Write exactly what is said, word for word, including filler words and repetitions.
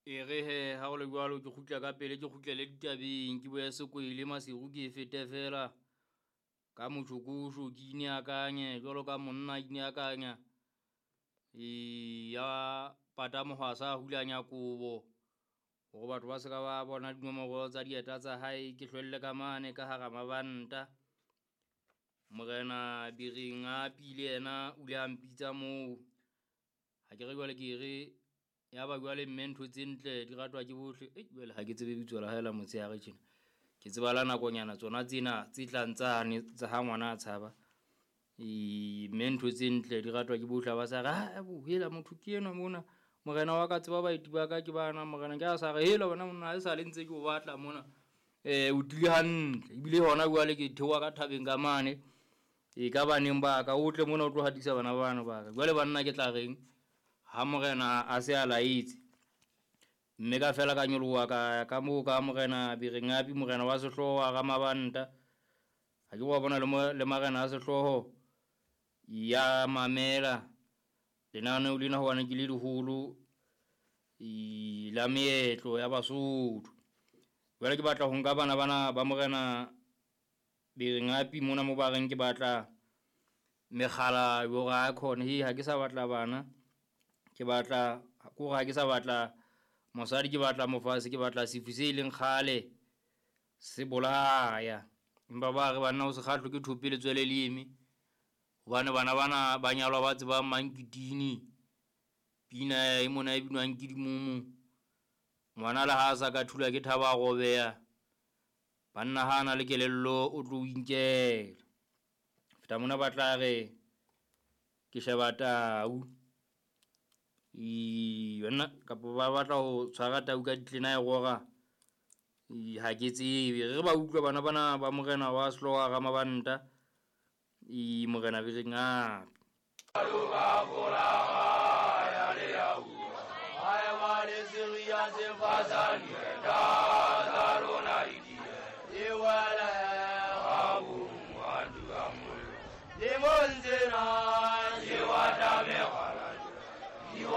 E re he ha o le jwalo ke kgutla ka pele ke kgutlele ditabeng ke boye sekwele masiru ke e fete fela ka motjhokosho ke ineakanye jwalo ka monna ke ineakanya e ya pata mohwasa a hulanya kobo hore batho ba se ka ba bona dinomoro tsa dieta tsa hae ke hlwelle ka mane ka hara mabanta. Morena Bereng a pile yena o ile a mpitsa moo ha ke re jwale ke re ya ba jwale mme ntho tse ntle di ratwa ke bohle. Ei jwale ha ke tsebe bitso la hae la motshehare tjena ke tseba la nakonyana tsona tsena tse tlang tsane tsa ha ngwana a tshaba. E mme ntho tse ntle di ratwa ke bohle ba sa re ha bo hela motho ke enwa mona morena wa ka tseba baeti ba ka ke bana morena ke a sa re hela wena monna ha e sa le ntse ke o batla mona eh o tlile hantle ebile hona jwale ke theoha ka thabeng ka mane e ka baneng ba ka o tle mona o tlo hatisa bana bana ba ka jwale banna ke tla reng ha morena a se a laetse mme ka fela ka nyoloha ka ka moo ka morena Berengapi morena wa sehlooho wa Ramabanta ha ke wa bona le le marena a sehlooho ya mamela lenaneo lena hobane ke le leholo la meetlo ya Basotho. Jwale ke batla ho nka bana bana ba morena Berengapi mona mo ba reng ke batla mekgala hore a khone he ha ke sa batla bana ke batla ko ha ke sa batla mosadi ke batla mofase ke batla sefu se leng kgale se bolaya empa ba re banna o se kgahlwe ke thope letswele le eme hobane bana bana ba nyalwa ba tsebang mankitini pina e mona e binwang ke dimumu ngwana le ha a sa ka thula ke thaba a robeha banna ha a na le kelello o tlo o inkela feta mona ba tla re ke sheba tau e banna kapa ba batla ho tshwara tau ka ditlena e rora ha ke tsebe re ba utlwa bana bana ba morena wa sehlooho wa Ramabanta e morena Berengapi.